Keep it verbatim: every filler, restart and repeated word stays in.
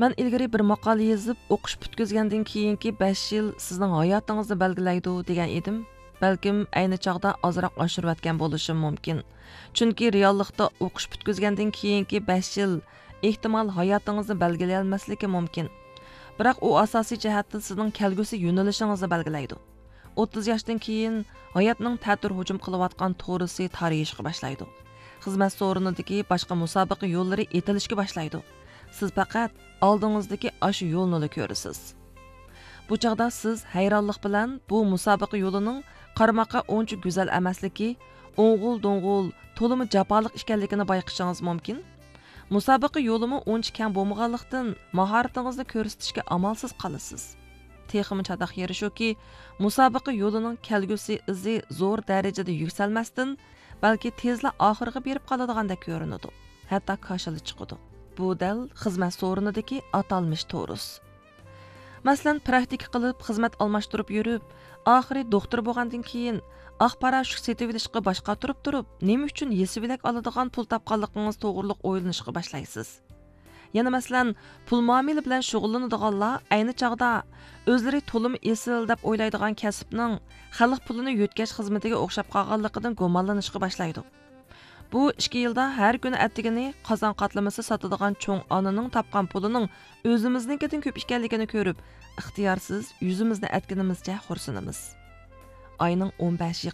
مەن ئىلگىرى بىر ماقالە يېزىپ، ئوقۇش پۈتكۈزگەندىن كېيىنكى بەش يىل سىزنىڭ ھاياتىڭىزنى بەلگىلەيدۇ، دېگەن ئىدىم. بەلكىم ئەينى چاغدا ئازراق ئاشۇرۇۋەتكەن بولۇشۇم مۇمكىن. چۈنكى رېئاللىقتا ئوقۇش پۈتكۈزگەندىن كېيىنكى بەش يىل، ئېھتىمال، ھاياتىڭىزنى بەلگىلىيەلمەسلىكى مۇمكىن. بىراق ئۇ ئاساسىي جەھەتتىن سىزنىڭ كەلگۈسى يۆنىلىشىڭىزنى بەلگىلەيدۇ. ئوتتۇز ياشتىن كېيىن ھاياتنىڭ تەتۈر ھۇجۇم قىلىۋاتقان تورۇسى تارىيىشقا باشلايدۇ. خىزمەت سورۇنىدىكى باشقا مۇسابىقە يوللىرى ئېتىلىشكە باشلايدۇ. سىز پەقەت ئالدىڭىزدىكى ئاشۇ يولنىلا كۆرىسىز. بۇ چاغدا سىز ھەيرانلىق بىلەن بۇ مۇسابىقە يولىنىڭ قارىماققا ئۇنچە گۈزەل ئەمەسلىكى، ئوڭغۇل-دوڭغۇل، تولىمۇ جاپالىق ئىكەنلىكىنى بايقىشىڭىز مۇمكىن. مۇسابىقە يولىمۇ ئۇنچە كەڭ بولمىغانلىقتىن، ماھارىتىڭىزنى كۆرسىتىشكە ئامالسىز قالىسىز. تېخىمۇ چاتاق يېرى شۇكى، مۇسابىقە يولىنىڭ كەلگۈسى ئىزى زور دەرىجىدە يۈكسەلمەستىن، بەلكى تېزلا ئاخىرىغا بېرىپ قالىدىغاندەك كۆرۈنىدۇ. ھەتتا كاشىلا چىقىدۇ. بۇ دەل خىزمەت سورۇنىدىكى ئاتالمىش تورۇس. مەسىلەن، پراكتىكا قىلىپ، خىزمەت ئالماشتۇرۇپ يۈرۈپ، ئاخىرى دوختۇر بولغاندىن كېيىن، ئاق پاراشوك سېتىۋېلىشقا باش قاتۇرۇپ تۇرۇپ، نېمە ئۈچۈن يېسىۋېلەك ئالىدىغان پۇل تاپقانلىقىڭىز توغرۇلۇق ئويلىنىشقا باشلايسىز. يەنە مەسىلەن، پۇل مۇئامىلە بىلەن شۇغۇللىنىدىغانلار ئەينى چاغدا ئۆزلىرى تولىمۇ ئېسىل دەپ ئويلايدىغان كەسىپنىڭ خەلق پۇلىنى يۆتكەش خىزمىتىگە ئوخشاپ قالغانلىقىدىن گۇمانلىنىشقا باشلايدۇ. بۇ ئىككى يىلدا ھەر كۈنى ئەتىگىنى قازان قاتلىمىسى ساتىدىغان چوڭ ئانىنىڭ تاپقان پۇلىنىڭ ئۆزىمىزنىڭكىدىن كۆپ ئىكەنلىكىنى كۆرۈپ، ئىختىيارسىز يۈزىمىزنى ئەتكىنىمىزچە خورسىنىمىز. ئاينىڭ ئون بەشى